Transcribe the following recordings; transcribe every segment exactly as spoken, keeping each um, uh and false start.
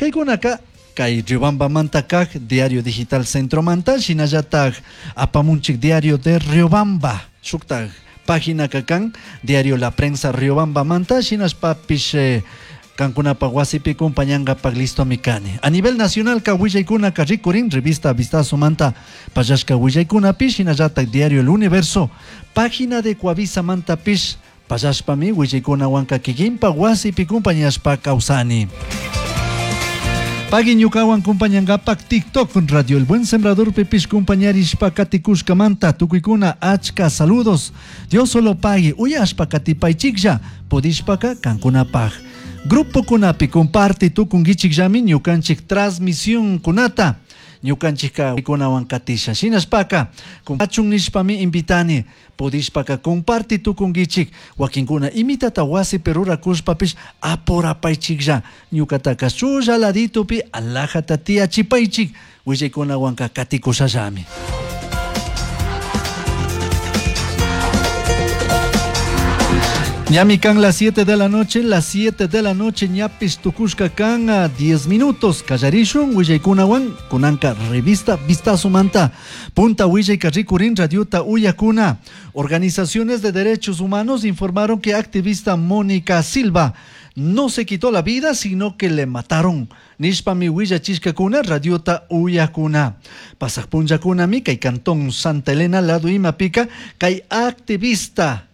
Kaykunaka kay Riobambamanta kak Diario Digital Centromanta, shinallatak apamunchik Diario de Riobamba, shuktak página kakan Diario La Prensa Riobambamanta, shinashpapish eh, kankunapa wasipi kumpañankapak listo mikani. A nivel nacional ka willaykunaka rikurin revista Vistazo manta pallashka willaykunapish, shinallatak Diario El Universo, página de Coavisa mantapish pallashpami willaykunawanka kikinpa wasipi kumpañashpa kawsani. Pagui ñukawan kumpañankapak TikTok Radio El Buen Sembrador pipish kumpañarishpa katikushkamanta tukuykuna achka saludos. Dios solo pagui uyashpa katipaychiklla pudishpaka kankunapaj. Grupo kunapi comparte tukunkichikllami ñukanchik transmisión kunata ñukanchikka kunawan katisha shinashpaka kumpachun nishpami invitani pudishpaka comparte tukunkichik wakinkuna imitata wasipi rurakushpapish apurapaychiklla ñukataka shulla laditupi alajata tiyachipaychik willaykunawanka katikushallami. Ñami kan las siete de la noche, las siete de la noche, ñapis tukushka kan a diez minutos. Kallarishun, willaykunawan, kunanka revista Vistazo Manta, Punta Willayka rikurin radiota uyakuna. Organizaciones de derechos humanos informaron que activista Mónica Silva no se quitó la vida, sino que le mataron. Nishpami willachishkakuna radiota uyakuna. Pasaq punllakunami kay cantón Santa Elena lado imapika kay activista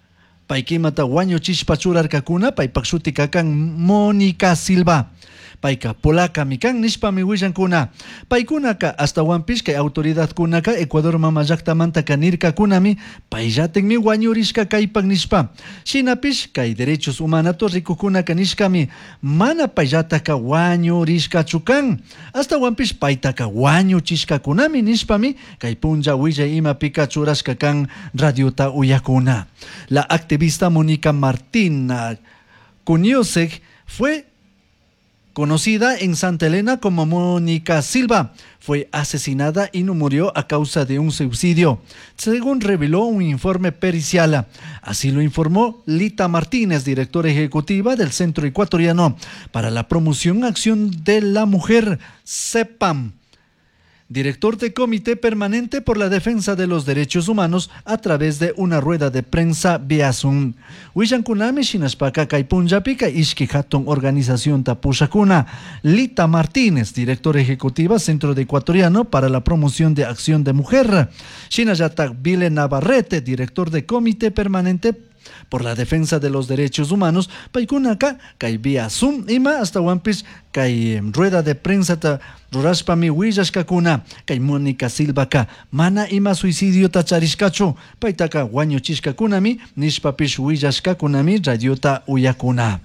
paykimata wañuchishpa churarkakuna paypak shuti kakan Mónica Silva. Payka polaca mikan nishpami willankuna. Paykunaka astawanpish kay autoridadkunaka Ecuador mama llaktamantaka nirkakunami payllatikmi wañurishka kaypak nishpa. Shinapish kay derechos humanato rikukunaka nishkami mana payllataka wañurishkachu kan. Astawanpish paytaka wañuchishkakunami nishpami kay punlla willay imapika churashka kan radiota uyakuna. La activista Mónica Martina Kuniosek fue conocida en Santa Elena como Mónica Silva, fue asesinada y no murió a causa de un suicidio, según reveló un informe pericial. Así lo informó Lita Martínez, directora ejecutiva del Centro Ecuatoriano para la Promoción Acción de la Mujer, CEPAM. Director de Comité Permanente por la Defensa de los Derechos Humanos a través de una rueda de prensa vía Zoom. Willankunami shinashpaka kay punllapika ishki hatun organización tapushakuna. Lita Martínez, directora ejecutiva Centro de Ecuatoriano para la Promoción de Acción de Mujer. Shinallatak Vile Navarrete, director de Comité Permanente por la Defensa de los Derechos Humanos, paykunaka kay vía Zoom ima hasta wampis kay rueda de prensa ta rurashpami willashkakuna kay Mónica Silvaka mana ima suicidio ta charishkachu paytaka wañuchishkakunami nishpapish willashkakunami radiota uyakuna.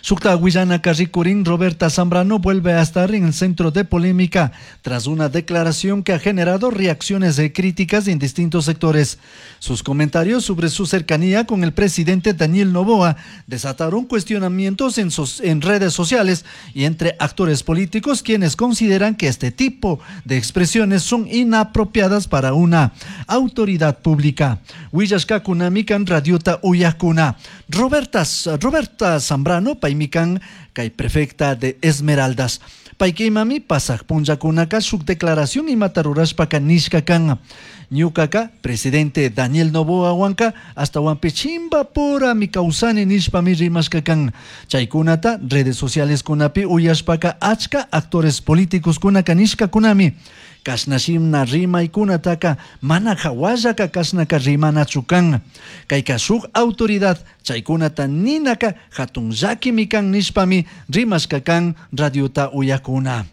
Sukta willana rikurin Roberta Zambrano vuelve a estar en el centro de polémica tras una declaración que ha generado reacciones de críticas en distintos sectores. Sus comentarios sobre su cercanía con el presidente Daniel Noboa desataron cuestionamientos en, sus, en redes sociales y entre actores políticos quienes consideran que este tipo de expresiones son inapropiadas para una autoridad pública. Willashkakunamikan radiota uyakuna. Roberta, Roberta Zambrano paymikan kay prefecta de Esmeraldas. Paykimami pasaq punllakunaka shuk declaración imata rurashpaka nishka kan. Ñukaka presidente Daniel Noboa wanka hasta wampi chimbapura mi kawsani nishpami rimashka kan. Chaykunata redes sociales kunapi uyashpaka achka actores políticos kunaka nishkakunami. Kashnashimna rimaykunataka mana hawallaka kashnaka rimanachu kan. Kayka shuk autoridad chaykunata ninaka hatun llakimi kan nishpami rimashka kan radiota uyakuna.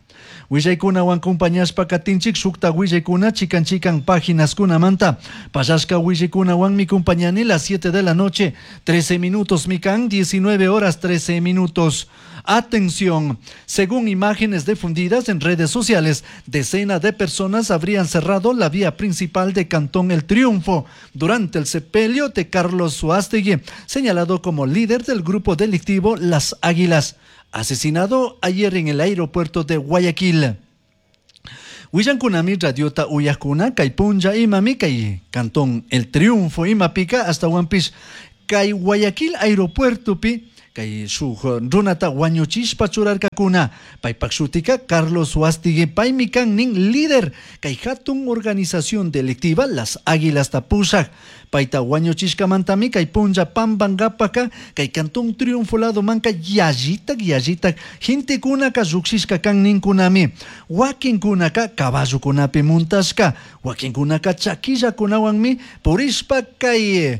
Willaykunawan compañashpa katinchik shukta willaykuna chikan chikan páginas kunamanta. Pallashka willaykunawanmi compañani las siete de la noche, trece minutos mikan, diecinueve horas trece minutos. Atención, según imágenes difundidas en redes sociales, decenas de personas habrían cerrado la vía principal de Cantón El Triunfo durante el sepelio de Carlos Suástegui, señalado como líder del grupo delictivo Las Águilas, asesinado ayer en el aeropuerto de Guayaquil. Willankunami radiota uyakuna kay punlla imami kay Cantón El Triunfo imapika hasta Huampis kay Guayaquil aeropuerto pi Kay shuk runata wañuchishpa churarkakuna. Paypak shutika Carlos Suástegui, paymi kan nin líder kay hatun organización delictiva Las Águilas pushak. Payta wañuchishkamantami kay punlla pambankapaka kay Cantón Triunfo lado manka yallitak yallitak gentekunaka llukshishka kan ninkunami. Wakinkunaka caballokunapi muntashka, wakinkunaka chakillakunawanmi purishpa kay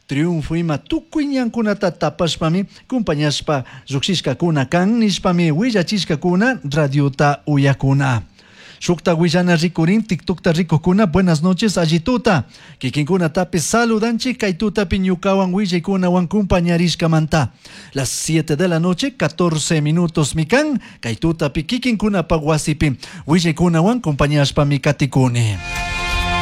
Triunfo ima tukuy ñankunata tapashpami kumpañashpa llukshishkakuna kan nishpami willachishkakuna radiota uyakuna. Shukta willana rikurin TikTokta rikukuna buenas noches allituta. Kikinkunatapi saludanchik kay tutapi ñukawan willaykunawan kumpañarishkamanta. Las siete de la noche, catorce minutos mikan kay tutapi kikinkunapa wasipi willaykunawan kumpañashpami katikuni.